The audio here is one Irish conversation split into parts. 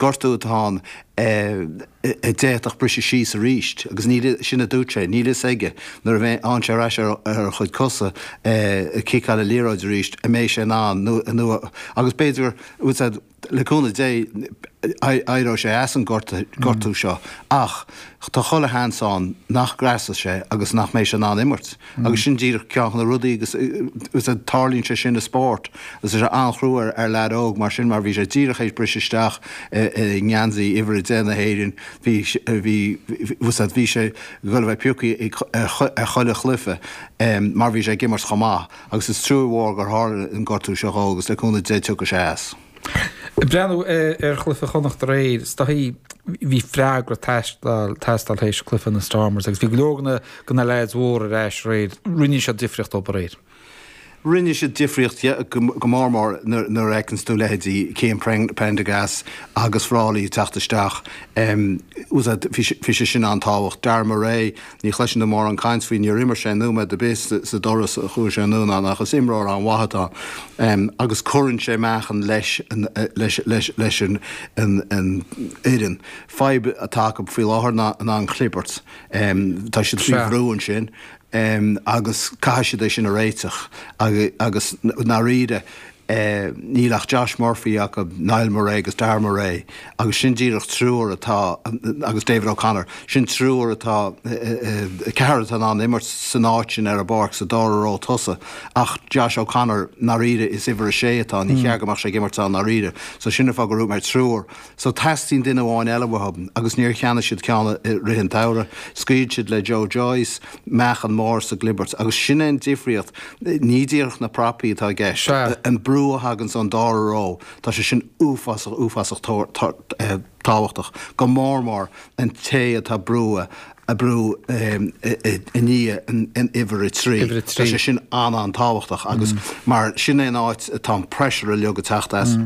Gortú atá ann a d'fhéadfadh briseadh síos arís agus níl, sin a dúirt sé, níl fhios aige nuair a bheidh sé ar ais ar a chuid cosa ag ciceáil an liathróid arís an mbeidh sé in ann nó agus b'fhéidir le cúnamh Dé éireoidh sé as an gortú seo ach tá chuile sheans ann nach ngreasfaidh sé agus nach mbeidh sé in ann imirt. Agus sin díreach ceann de na rudaí agus tarlaíonn sé sin i spórt agus tá sé an-chrua ar leaid óg mar sin mar bhí sé díreach théis briseadh isteach i ngeansaí uimhir 10 na hÉireann, bhí, bhí, bhí sé ag dul a bheith pioctha ar chuile chluiche mar bhí sé ag imirt chomh maith agus is trua mhór gur tharla an gortú seo dhó agus le cúnamh Dé tiocfaidh sé as. Ag breathnú ar chluiche Chonnacht aréir, is dóichí bhí freagra ag teastáil théis cluiche na Stormers agus bhí go leor de na leaids mhóra ar ais aréir. Rinne siad difríocht dóibh aréir. Rinne siad difríocht go mór mór nuair a fheiceanns tú leithéidí Cian Prendergast agus Frawley ag teacht isteach. Bhí sé sin an-tábhacht. Darragh Murray, Ní chloiseann tú mórán caint faoi, níor imir sé nóiméad ar bith sa dturas a chuaigh sé anonn ann ach is imreoir an-mhaith atá ann agus cuireann sé meáchan leis leis an fhoireann. Fadhb atá acu faoi láthair ná an chlibirt. Tá siad faoi bhrú ansin agus caithfidh siad é sin a réiteach agus i ndáiríre Níl ach Josh Murphy acu, Niall Murray agus Darragh Murray agus sin díreach triúr atá, agus David O'Connor, sin triúr atá, ceathrar atá in ann imirt san áit sin ar an bpáirc sa dara ró tosaigh ach Josh O'Connor, ndáiríre is uimhir a sé atá ann, ní cheart go mbeadh sé ag imirt ann ndáiríre. So sin an fáth gur dhúirt mé triúr. So teastaíonn duine amháin eile uathu agus níor cheannaigh siad ceann i rith an tsamhraidh. Scaoil siad le Joe Joyce, meáchan mór sa gclibirt agus sin é an difríocht. Ní díreach na prapaí atá i gceist, an brú a thaganns ón dara ró, tá sé sin uafásach, uafásach tábhachtach, go mór mór an té atá brú a brú i ndiaidh an uimhir a 3. Tá sé sin an-an-tábhachtach agus mar sin é an áit atá an pressure uilig ag teacht as.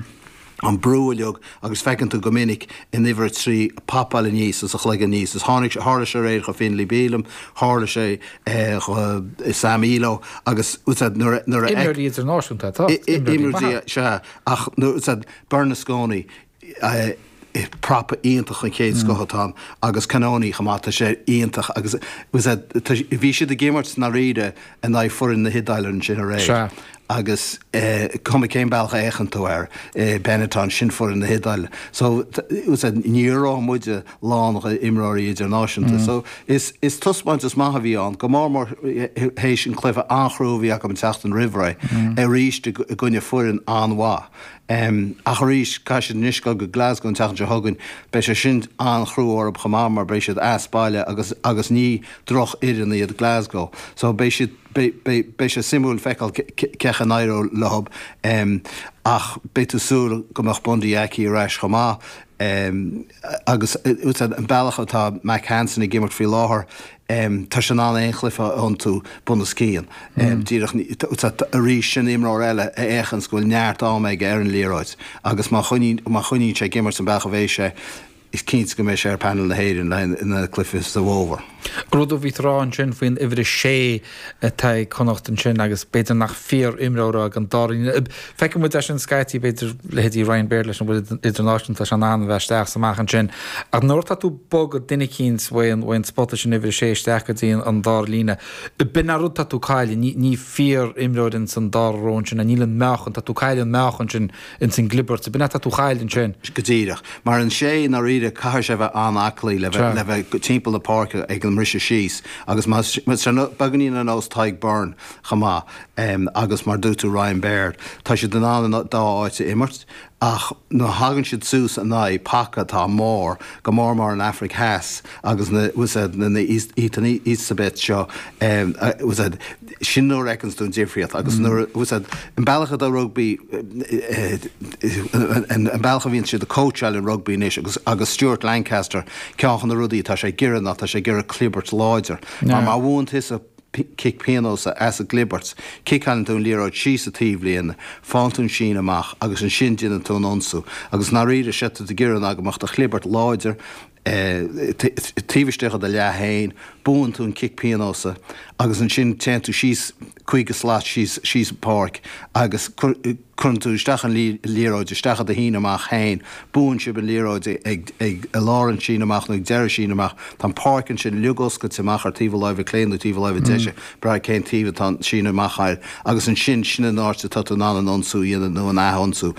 an brú uilig agus feiceann tú go minic an uimhir 3 ag popáil aníos is a chloigeann aníos is tháinig tharla sé aréir do Finlay Bealham, tharla sé do Sam Illo agus nuair a nuair a Imreoirí idirnáisiúnta atá, imreoirí maithe. Sea, ach nuair Bernasconi prapa iontach an chéad scoth atá ann agus Cannone chomh maith, tá sé iontach agus bhí siad ag imirt i ndáiríre in aghaidh foireann na hIodáile ansin aréir agus cuma cén bealach a fhéachann tú air, Benetton, sin foireann na hIodáile. So ní raibh muide lán d'imreoirí idirnáisiúnta. So is is taispeántas maith a bhí ann, go mór mór théis an cluiche an-chrua a bhí acu an tseachtain roimh ré, arís i gcoinne foireann an-mhaith. Ach arís, caithfidh siad anois dul go Glasgow an tseachtain seo chugainn. Beidh sé sin an-chrua orthu chomh maith mar beidh siad as baile agus agus ní drochfhoireann iad Glasgow. So beidh siad, beidh, beidh, beidh sé suimiúil feiceáil cén chaoi a n-éireoidh leo. Ach beidh tú ag súil go mbeadh Bundee Aki ar ais chomh maith. Agus an bealach atá Mack Hansen ag imirt faoi láthair, Tá sé in ann aon chluiche a iontú bunoscionn. Díreach arís sin imreoir eile a fhéachanns go bhfuil neart ama aige ar an liathróid agus má choinníonn sé ag imirt an bealach a bheidh sé, is cinnte go mbeidh sé ar panel na hÉireann le na cluichí sa bhfómhar. Rud a bhí tú a rá ansin faoin uimhir a sé atá ag Connacht ansin agus b'fhéidir nach fíor-imreoir é ag an dara líne. Feiceann muid é sin scaití, b'fhéidir, leithéidí Ryan Baird leis an bhfuil idirnáisiúnta, tá sé in ann a bheith isteach is amach ansin. Ach nuair atá tú ag bogadh duine eicínt uaidh an spota sin uimhir a sé isteach go dtí an dara líne, b'in an rud atá tú ag cailleadh. Ní, ní fíor-imreoir ins an dara ró ansin, níl an meáchan, tá tú ag cailleadh an meáchan sin ins an gclibirt, b'in atá tú a chailleadh ansin. Go díreach. Mar an sé i ndáiríre, caithfidh sé a bheith an-aclaí le bheith, le bheith timpeall na páirce ag an mbriseadh síos agus más, más beagáinín ar nós Tadhg Beirne chomh maith. Agus mar dúirt tú Ryan Baird, tá siad in ann an dá áit a imirt ach nuair a thagann siad suas in aghaidh paca atá mór, go mór mór an Afraic Theas agus na na Ethan Etzebeth seo, sin nuair a fheiceanns tú an difríocht agus nuair an bealach atá rugbaí, an bealach a bhíonn siad ag cóitseáil an rugbaí anois agus agus Stuart Lancaster, ceann de na rudaí atá sé ag iarraidh ná tá sé ag iarraidh clibirt láidir. Mar má bhuann tusa cic pionóis as an gclibirt, ciceálann tú an liathróid síos an taobhlíne, faigheann tú an síneadh amach agus ansin déanann tú an ionsú. Agus i ndáiríre, séard atá tú ag iarraidh ná go mbeadh do chlibirt láidir. Taobh istigh de do leath féin, buann tú an cic pionóis agus ansin téann tú síos 50 slat síos síos an pháirc agus cuireann tú isteach an liathróid isteach i do shíneadh amach féin. Buann sibh an liathróid ag ag i lár an síneadh amach nó ag deireadh síneadh amach. Tá an pháirc ansin uilig oscailte amach ar taobh a láimhe clé nó taobh a láimhe deise, brath cén taobh atá an síneadh amach air agus ansin sin an áit atá tú in ann an ionsú a dhéanamh nó an ath-ionsú.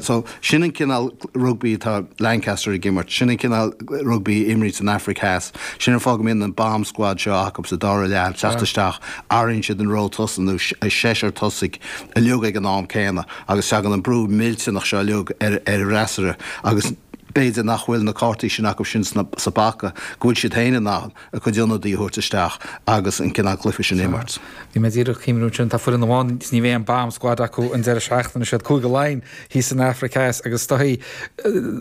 So sin an cineál rugbaí atá Lancaster ag imirt, sin an cineál rugbaí a imríonn san Afraic Theas. Sin an fáth go mbíonn an bomb squad seo acu sa dara leath ag teacht isteach, athraíonn siad an ró tosaigh nó seisear tosaigh uilig ag an am céanna agus tagann an brú millteanach seo uilig ar an bhfreasúra agus b'fhéidir nach bhfuil na cártaí sin acu sin sa bpaca go bhfuil siad féin in ann a gcuid ionadaí a thabhairt isteach agus an cineál cluiche sin a imirt. Bhí mé díreach ag cuimhniú ansin, tá foireann amháin is ní bheidh an bomb squad acu an deireadh seachtaine, siad Cúige Laighean thíos san Afraic Theas agus is dóichí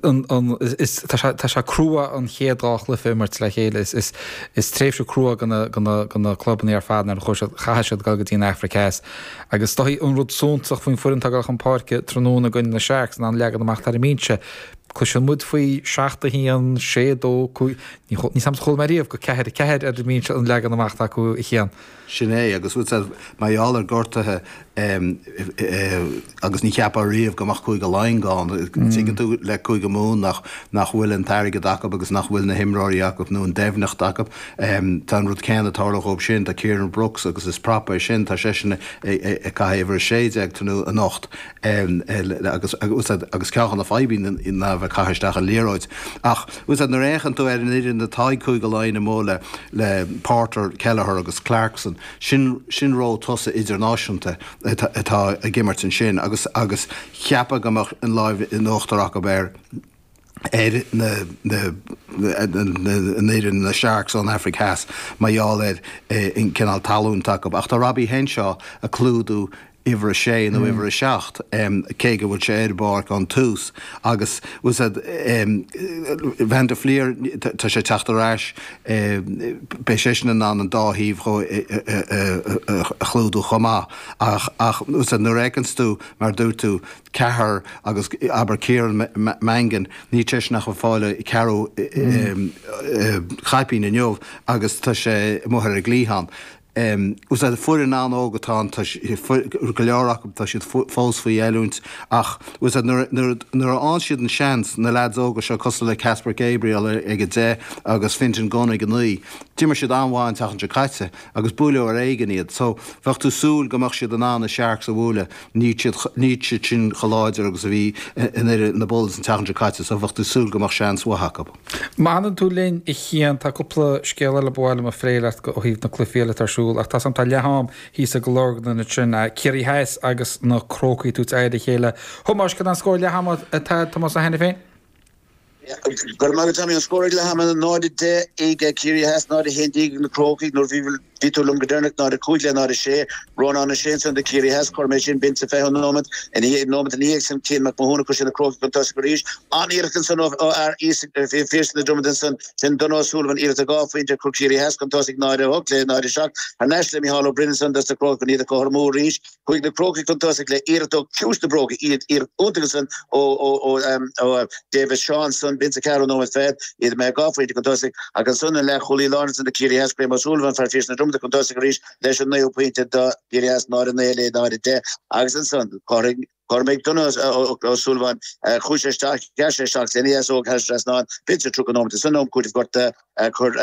an, an, is, tá sé, tá sé crua an chéad dhá chluiche a imirt le chéile, is, is, is tréimhse crua do na, do na, do na clubanna ar fad nuair a chuaigh siad, chaithfidh siad dul go dtí an Afraic Theas. Agus is dóichí an rud suntasach faoin foireann atá ag dul chun páirce tráthnóna i gcoinne na Sharks ná an leagan amach atá ar an mbinse. Cloiseann muid faoi 7 1, 6 2, 5, Ní 'fhios a'msa chuala mé riamh go 4 4 ar an mbinse an leagan amach atá acu a Chian. Sin é, agus bhfuil 's mar gheall ar gortuithe agus ní cheapfá riamh go mbeadh Cúige Laighean gann, tuigeann tú le Cúige Mumhan nach nach bhfuil an t-airgead acu agus nach bhfuil na himreoirí acu nó an doimhneacht acu. Tá an rud céanna ag tarlú dhóibh sin, tá Kieran Brooks agus is prapa é sin, tá seisean ag caitheamh uimhir 16 anocht. agus agus ceann de na fadhbanna ná a bheith ag caitheamh isteach an liathróid. Ach bhfuil 's a'd nuair a fhéachann tú ar an fhoireann atá ag Cúige Laighean amuigh le le Porter, Kelleher agus Clarkson, sin sin ró tosaigh idirnáisiúnta atá atá ag imirt ansin agus agus cheapfá go mbeadh an láimh in uachtar acu ar ar na an fhoireann, na Sharks ón Afraic Theas, mar gheall ar an cineál talún atá acu. Ach tá Robbie Henshaw ag clúdú uimhir a sé nó uimhir a 7, cé go bhfuil sé ar an bpáirc ón tús. Agus bhfuil 's a'd, Van der Flier, tá sé ag teacht ar ais, beidh seisean in ann an dá thaobh a chlúdú chomh maith. Ach bhfuil 's a'd, nuair a fheiceanns tú, mar a dúirt tú, ceathrar agus abair Kieran Mangan, níl seisean ach ag fáil ceathrú caipín inniu agus tá sé amuigh ar an gcliathán. Bhfuil 's a'd, foireann an-óg atá ann, tá go leor acu, tá siad fós faoi oiliúint ach bhfuil 's a'd, nuair a fhaigheann siad an seans, na leaids óga seo cosúil le Casper Gabriel ag 10 agus Fintan Gunne ag 9, d'imir siad an-mhaith an tseachtain seo caite agus buaileadh ar éigean iad so bheadh tú súil go mbeadh siad in ann na Sharks a bhualadh. Níl siad, níl siad sin chomh láidir agus a bhí an fhoireann na Bulls an tseachtain seo caite so bheadh tú súil go mbeadh seans mhaith acu. Má fhanann tú linn a Chian, tá cúpla scéal eile ba mhaith liom a phlé leat ó thaobh na cluichí eile atá ar siúl ach tá 's a'm tá leath am thíos i gCill Orglan ansin, Ciarraí Theas agus na Crócaigh ag tabhairt aghaidh ar a chéile. A Thomáis, cad é an scór leath ama atá ag Tomás Ó hAiniféin? Go raibh maith agat Tommy, an scór ag leath ama 0-10 ag Ciarraí Theas, 0-11 ag na Crócaigh. Nuair a bhí tú liom go deireanach 0-5 le 0-6. Rónán Ó Sé ansan do Chiarraí Theas, chuir mé sin binn sa 20ú nóiméad. Ina dhiaidh, nóiméad ina dhiaidh sin Cian Mac Mathúna chuir sé na Crócaigh chun tosaigh arís. An-iarracht ansan ó fhear Phiarsaigh na Dromoda ansan, sin Donagh O'Sullivan, iarracht de dhá phointe chuir Ciarraí Theas chun tosaigh 0-8 le 0-7. Thar n-ais le Micheál Ó Broin ansan dos na Crócaigh chun iad a chothromú arís. Chuaigh na Crócaigh chun tosaigh le iarracht ó chiumhais na bróige, iad iarracht iontach ansan ó David Shaw ansan, b'in sa cheathrú nóiméad fichead, iad imithe dhá phointe chun tosaigh ach ansan an leathchúlaí láir ansan do Chiarraí Theas, Graham O'Sullivan, fear Phiarsaigh na Dromoda chun tosaigh arís leis an naoú pointe do Chiarraí Theas, 0-9 le 0-10 agus ansan chothromaigh Donagh O'Sullivan, chuaigh sé isteach, ghearr sé isteach lena dheasóg thar an trasnán, b'in sa 30 nóiméad ansan am cúitimh gortaithe, chuir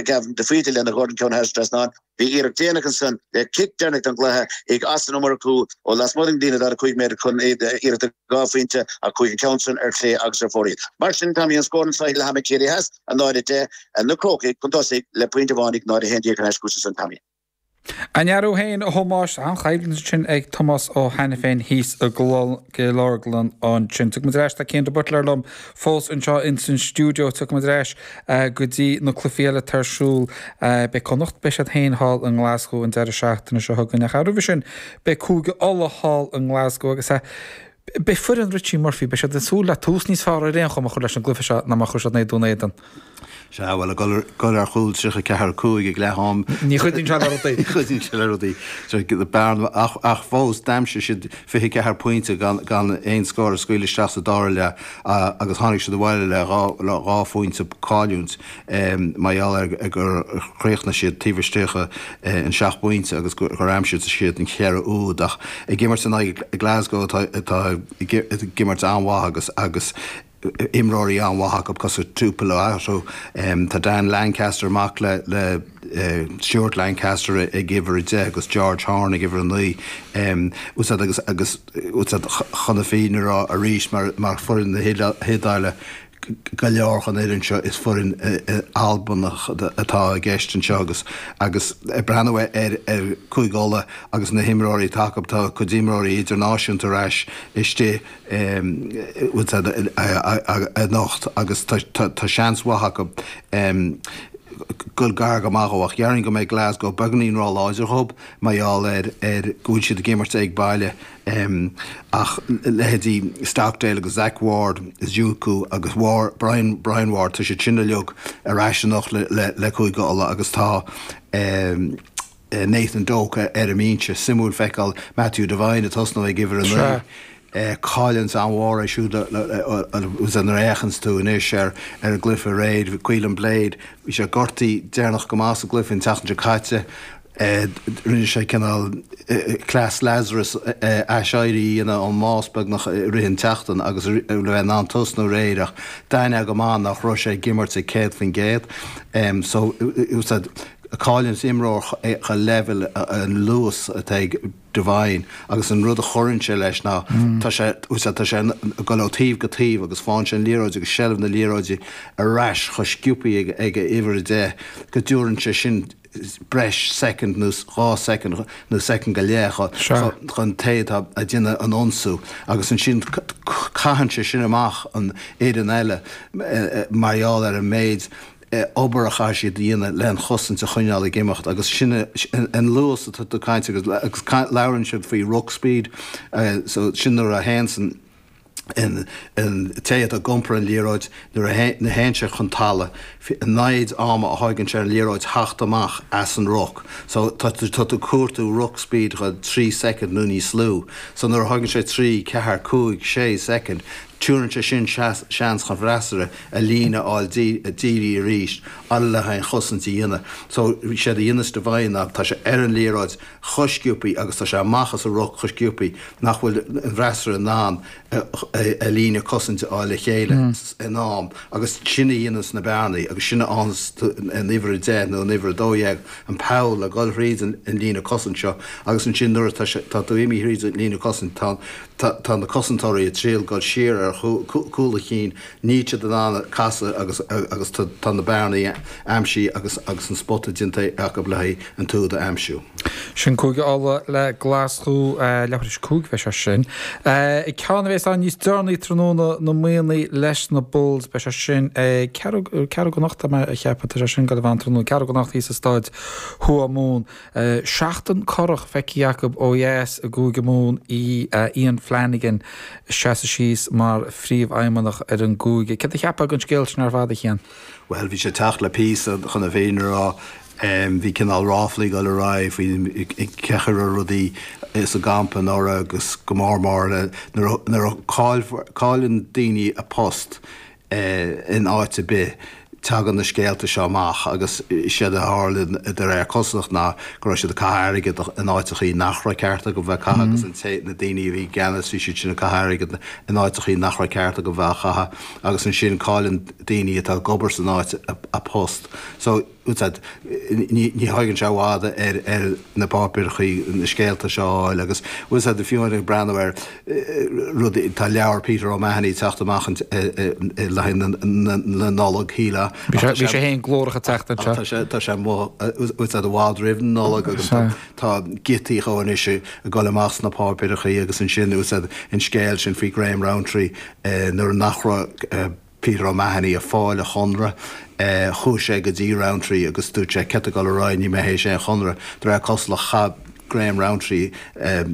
Gavin de Faoite lena dhorn ceann thar an trasnán. Bhí iarracht déanach ansan le cic deireanach don gcluiche ag as an iomarcú ó lasmuigh den líne 45 méadar chun iarracht de dhá phointe ach chuaigh an ceann san ar chlé agus ar fóraoil. Mar sin, Tommy, an scór anso ag leath ama Ciarraí Theas, 0-10, na Crócaigh chun tosaigh le pointe amháin ag 0-11 thar n-ais chugatsa ansan, Tommy. An ndearú féin, a Thomáis, an-choimhlint ansin ag Tomás Ó hAiniféin thíos i gCill Orglan ansin. Tiocfaidh muid ar ais, tá Cian de Buitléar liom fós anseo ins an stiúideo. Tiocfaidh muid ar ais go dtí na cluichí eile atá ar siúl. Beidh Connacht, beidh siad féin thall i nGlasgow an deireadh seachtaine seo chugainn. Ach roimhe sin, beidh Cúige Uladh thall i nGlasgow agus beidh foireann Richie Murphy, beidh siad ag súil le tús níos fearr ar aon chuma a chur leis an gcluiche seo ná mar a chuir siad in aghaidh Dún Éideann. Sea, bhuel, ag dul ar chúl 34, 5 ag leath am. Ní chuidíonn sé le rudaí. Ní chuidíonn sé le rudaí. Bearna, ach fós d'aimsigh siad 24 pointe gan aon scór a scaoileadh isteach sa dara leath agus tháinig siad abhaile le dhá phointe cailliúint mar gheall ar gur chríochnaigh siad taobh istigh den seacht bpointe agus gur aimsigh siad an cheithre úd. Ach ag imirt in aghaidh Glasgow atá ag imirt an-mhaith agus imreoirí an-mhaith acu cosúil Tuipulotu. Tá Dan Lancaster, mac le Stuart Lancaster ag uimhir 10 agus George Horne ag uimhir 9. Úsáid agus agus úsáid chun na fírinne a rá arís mar mar foireann na hIodáile go leor den fhoireann seo is foireann Albanach atá i gceist anseo agus agus ag breathnú ar ar Cúige Uladh agus na himreoirí atá acu tá cuid imreoirí idirnáisiúnta ar ais istigh anocht agus tá seans mhaith acu dul gar go maith dhó ach déarfainn go mbeidh Glasgow beagáinín róláidir dhób mar gheall ar go bhfuil siad ag imirt ag baile ach leithéidí Stockdale agus Zac Ward, Zuku agus Brian Brian Ward tá siad sin uilig ar ais anocht le Cúige Uladh agus tá Nathan Doak ar an mbinse. Suimiúil feiceáil Matthew Devine ag tosnú ag uimhir 9. Cailliúint an-mhór é siúd nuair a fhéachanns tú anois ar an gcluiche aréir. Caolin Blade, bhí sé gortaithe deireanach go maith sa gcluiche an tseachtain seo caite. Rinne sé cineál cleas Lazarus aiséirí a dhéanamh ón mbás beagnach i rith an tseachtain agus le bheith in ann tosnú aréir ach d'aithneofá go maith nach raibh sé ag imirt ag 100%. So, Cailliúint imreoir chomh leibhéal an luas atá ag Devine agus an rud a chuireann sé leis ná tá sé tá sé ag dul ó taobh go taobh agus faigheann sé an liathróid agus seilbh na liathróide ar ais chomh sciobtha ag ag uimhir 10 go dtabharann sé sin breis soicind nó 2 soicind nó soicind go leith chun té atá ag déanamh an ionsú agus ansin caitheann sé sin amach an fhoireann eile mar gheall ar an méid obair a chaithfidh siad a dhéanamh le an chosaint a choinneáil ag imeacht agus sin an luas atá tú ag caint agus agus labhrann siad faoi ruck speed so sin nuair a théanns an an an té atá ag iompar an liathróid nuair a théann sé chun talamh an méid ama a thóigeann sé an liathróid theacht amach as an ruc so tá tú tá tú ag cuartú ruck speed 3 soicind nó níos lú so nuair a thóigeann sé 3, 4, 5, 6 soicind Tabharann sé sin seans chun freasúra a líne a fháil dírithe arís le haghaidh an chosaint a dhéanamh. So, séard a dhéanas Devine ná tá sé ar an liathróid chomh sciobtha agus tá sé amach as an ruc chomh sciobtha nach bhfuil an freasúra in ann a líne cosaint a fháil le chéile in am agus sin a dhéanas na bearnaí agus sin a fhaigheanns an uimhir 10 nó an uimhir 12 an poll le dhul thríd an líne cosaint seo agus ansin nuair atá tá tú imithe thríd an líne cosaint tá Tá na cosantóirí ag triail dul siar ar chúl a chinn, níl siad in ann casadh agus agus tá na bearnaí aimsithe agus agus an spota déanta acu le haghaidh an t-úd a aimsiú. Sin Cúige Uladh le Glaschú, leathuair tar éis 5 beidh sé sin. Ceann a bheas ann níos deireanaí tráthnóna, na Muimhnigh leis na Bulls, beidh sé sin ag ceathrú ceathrú go hocht tá mé a cheapadh, tá sé sin ag dul a bheith ann tráthnóna, ceathrú go hocht thíos i Staid Thuamumhan. Seachtain corrach feicthe acu ó dheas i gCúige Mumhan í Iain Flannigan ag seasamh síos mar phríomhfheidhmeannach ar an gcúige. Céard a cheapfá den scéal sin ar fad, a Chian? Bhuel, bhí sé ag teacht le píosa chun na fírinne a rá. Bhí cineál ráflaí ag dul ar aghaidh faoi cén chaoi a raibh rudaí sa gcampa anuraidh agus go mór mór nuair a chailleann daoine a post in áit ar bith, tagann na scéalta seo amach agus séard a tharla de réir cosúlacht ná go raibh siad ag caitheamh airgead in áiteachaí nach raibh ceart acu bheith ag caitheamh agus an té, na daoine a bhí i gceannas, bhí siad sin ag caitheamh airgead in áiteachaí nach raibh ceart acu bheith á chaitheamh agus ansin cailleann daoine atá ag obair san áit a post. So. Ní thóigeann sé i bhfad ar na páipéarachaí na scéalta seo a fháil agus bhfuil fhios a'd fiú ag breathnú ar rudaí, tá leabhar Peter O'Mahony ag teacht amach le haghaidh na Nollag, shílfeá. Bhí sé féin glórach ag teacht anseo. Tá sé amuigh, bhfuil fhios a'd i bhfad roimh na Nollag agus tá giotaí dhó anois ag dul amach sna páipéarachaí agus ansin bhfuil fhios a'd an scéal sin faoi Graham Rowntree nuair nach raibh Peter O'Mahony ag fáil a chonradh. Chuaigh sé go dtí Rowntree agus dúirt sé, céard tá ag dul ar aghaidh, níl mé théis aon chonradh. De réir cosúlacht chaith. Graham Rowntree a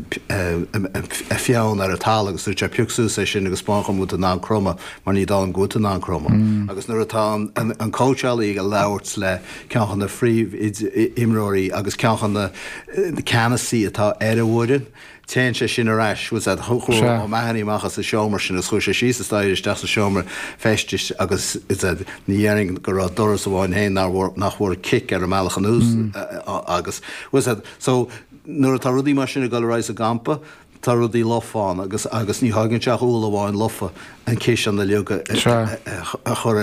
pheann ar an talamh agus dúirt sé pioc suas é sin agus spáin dhom an bhfuil tú in ann cromadh mar ní dóigh liom go bhfuil tú in ann cromadh. Agus nuair atá an cóitseálaí ag labhairt le ceann de na phríomh-imreoirí agus ceann de na ceannasaí atá ar an bhfoireann, Téann sé sin ar ais, bhfuil a fhios agat, chuaigh O'Mahony amach as an seomra sin agus chuaigh sé síos an staighre isteach sa seomra feistis agus ní dhéarfainn go raibh doras amháin féin nach bhfuair cic ar an mbealach anuas agus, bhfuil a fhios agat, so nuair atá rudaí mar sin ag dul ar aghaidh sa gcampa, tá rudaí lofa ann agus agus ní thógann sé ach úll amháin lofa an ciseán uilig a chur ar.